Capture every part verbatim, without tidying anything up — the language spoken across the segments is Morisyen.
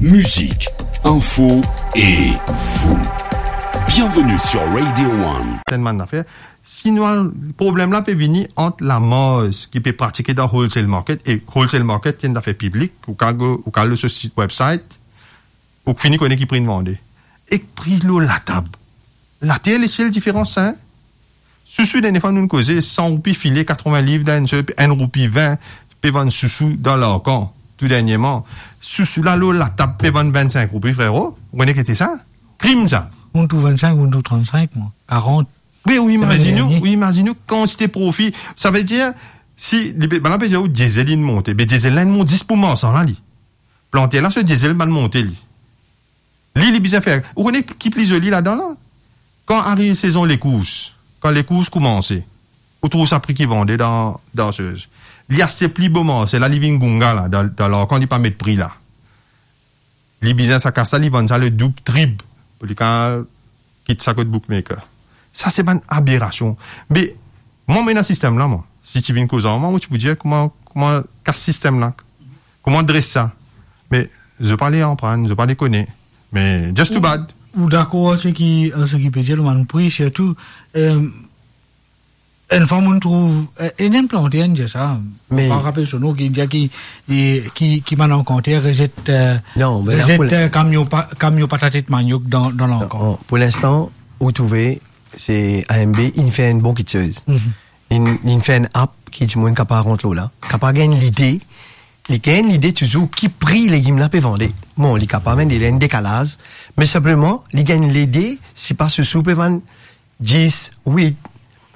Musique, info et vous. Bienvenue sur Radio One. Tellement d'affaires. Sinon, problem la pe vini ant lamars ki pe pratike dan wholesale market, e wholesale market, se enn zafer piblik, ou kapav, ou kapav al lor so sit website, ou fini kone ki pri inn vande. Ek pri lor latab. Later lesiel diferans, hein? Sousou, dernie fwa nou koze, san roupi file, katrevin liv dan enn sel, enn roupi vin, pe vann sousou dan Larkan, tou dernieman. Sousou la lor latab pe vann vinn-sink roupi, frero. Ou kone ki ete sa? Krim sa. Monn trouv vinn-sink, monn trouv trant-sink, mwa. Karant. Wi, ou imazinn ou, dernie. Ou imazinn ou kantite profi. Savedir, si, li pe, bann la pe dir ou diesel inn monte, be diesel la inn mont zis pou marsan la, li. Planter la, so diesel bann monte li. Li, li bizin fer. Ou kone ki pli zoli ladan la? Kan ariv sezon lekours, kan lekours koumanse, ou trouv sa pri ki vande dan, dan sez. Li aste pli bo marse la, li vinn gounga la, dan, dan Larkan li pa met pri la. Li bizin sa kas la, li vann sa ledoub, trip, pou li kapav kit sa kot bookmaker. Sa se bann aberasion. Me, mwa, mo ena sistem la, mwa. Si ti vinn koz ar mwa, mo ti pou dir kouma, kouma kas sistem la, kouma dres sa. Me, zot pa le aprann, zot pa le kone. Me, just too bad. Ou, ou dakor ar seki, ar seki pe dir, bann pri, sirtou, eh, enn fwa monn trouv, eh, enn, enn planter inn dir sa. Me pa rapel so nom, ki dir ki, ki, ki bann lankanter rezet, eh, non, me la rezet, pou le- eh, kamion pa-, kamion patat ek maniok dan, dan Larkan. Non, pou linstan, ou trouve, se A M B, inn fer enn bon kiksoz. Mhm. Inn, inn fer enn app ki dimoun kapav rant lor la, kapav gagn lide, li gagn lide touzour ki pri legim la pe vande. Bon, li kapav enn, li ena enn dekalaz, me sinpleman, li gagn lide, si pa sousou pe vann dis, wit.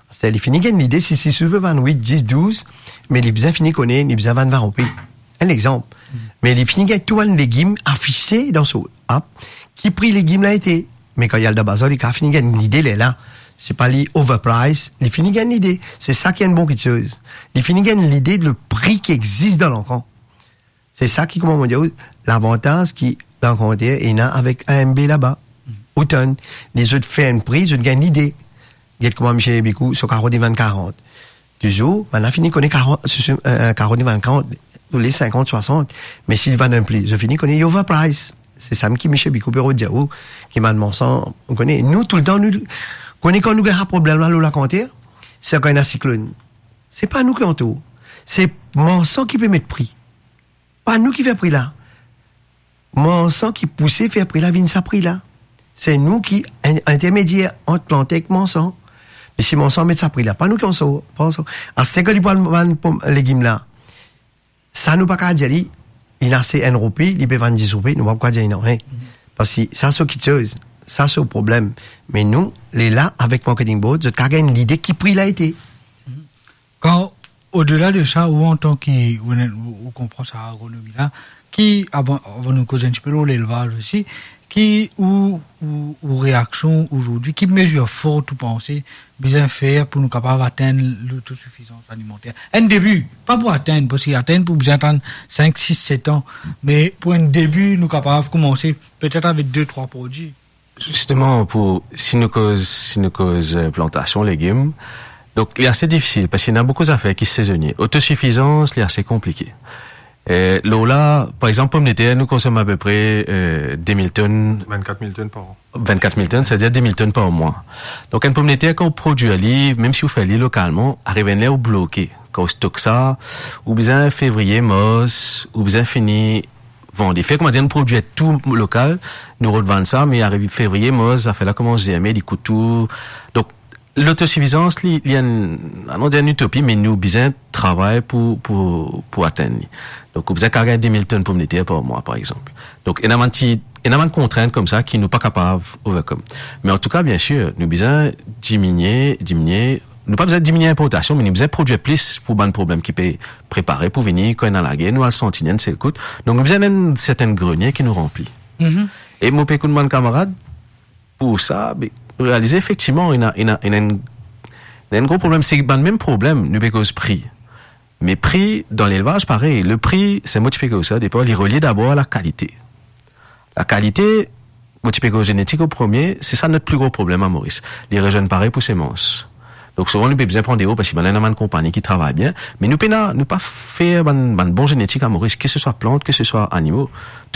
Aster li fini gagn lide, si, si sousou pe vann wit, dis, douz, me li bizin fini kone, li bizin vann vin roupi. Enn lexanp. Me li fini gagn tou bann legim afise dan so app, ki pri legim la ete. Me kan li al dan bazar, li kapav fini gagn lide lerla. Se pa li overprice, li fini gagn lide. Se sa ki enn bon kiksoz. Li fini gagn lide le pri ki existe dan Larkan. Se sa ki, kouma mo dir ou, lavantaz ki lankanter ena avek A M B laba. Ou tann, lezot fer enn pri, zot gagn lide. Get kouma misie Bikou, so karo li vann karant. Touzour, bann la fini kone karo, so, so, eh, eh, karo li vann karant, tou le sinkant, swasant. Me si li vann enn pli, zot fini kone li overprice. Se sa mem ki misie Bikou pe rod dir ou, ki bann marsan, ou kone, nou toultan, nou kone kan nou gagn problem la, lor lakanter, se kan ena siklonn. Se pa nou ki antour. Se marsan ki pe met pri. Pa nou ki fer pri la. Marsan ki pouse fer pri la vinn sa pri la. Se nou ki in-, intermedier ant planter ek marsan. Me si marsan met sa pri la, pa nou ki antour, pa nou ki antour. Aster kan li pou al vann pom-, legim la, sa nou pa kapav dir li, li ena se enn roupi, li pe vann dis roupi, nou pa pou kapav dir li nanye. Parski sa so kiksoz, sa so problem. Me nou, lerla avek marketing board, zot kapav gagn lide ki pri la ete. Kan, odela de sa, ou antan ki, ou, ou, ou konpran sa agronomi la, ki, avan, avan nou koz enn tipe lor lelvaz osi, ki ou, ou, ou reaksion azordi, ki mezir for ou panse bizin fer pou nou kapav atenn lotosifizans alimanter? Enn debi, pa pou atenn, parski atenn pou bizin atann sink, sis, set an, me pou enn debi, nou kapav koumanse petet avek de, trwa prodwi. Zisteman, pou, si nou koz, si nou koz, eh, plantasion legim, donk, li ase difisil, parski ena boukou zafer ki sezonie. Otosifizans, li ase konplike. Eh, lor la, par exanp, pomdeter, nou konsom apepre, eh, de mil tonn. Vinn-kat mil tonn par an. Vinn-kat mil tonn, setadir de mil tonn par mwa. Donk, enn pomdeter, kan ou prodwir li, mem si ou fer li lokalman, ariv enn ler ou bloke. Kan ou stok sa, ou bizin fevriye, mars, ou bizin fini vande. Fer koumadir nou prodwir tou lokal, nou rod vann sa, me ariv fevriye, mars, zafer la koumans zerme, li kout tou. Donk, lotosifizans, li, li enn, anon dir enn itopi, me nou bizin travay pou, pou, pou atenn li. Donk, ou bizin kapav gagn de mil tonn pomdeter par mwa, par exanp. Donk, ena bann ti, ena bann kontrint koumsa ki nou pa kapav overcome. Me antouka, biensir, nou bizin diminie, diminie, nou pa bizin diminie inportasion, me nou bizin prodwir plis pou bann problem ki pe prepare pou vini, kan ena lager, nou al santi li enn sel kout. Donk, nou bizin enn sertin grenie ki nou ranpli. Mhm. E mo pe ekout bann kamarad, pou sa, be, nou realize efektivman, ena, ena, ena enn, ena enn gro problem, se bann mem problem, nou pe koz pri. Me pri, dan lelvaz, parey, le pri, se mo ti pe koz sa, depi, li relie dabor a lakalite. Lakalite, mo ti pe koz zenetik an premie, se sa not pli gro problem a Moris. Li rezwenn parey pou semans. Donk, souvan, nou pe bizin pran deor, parski bann la ena bann konpagni ki travay bien, me nou pena, nou pa fer bann, bann bon zenetik a Moris, ke se swa plant, ke se swa animo.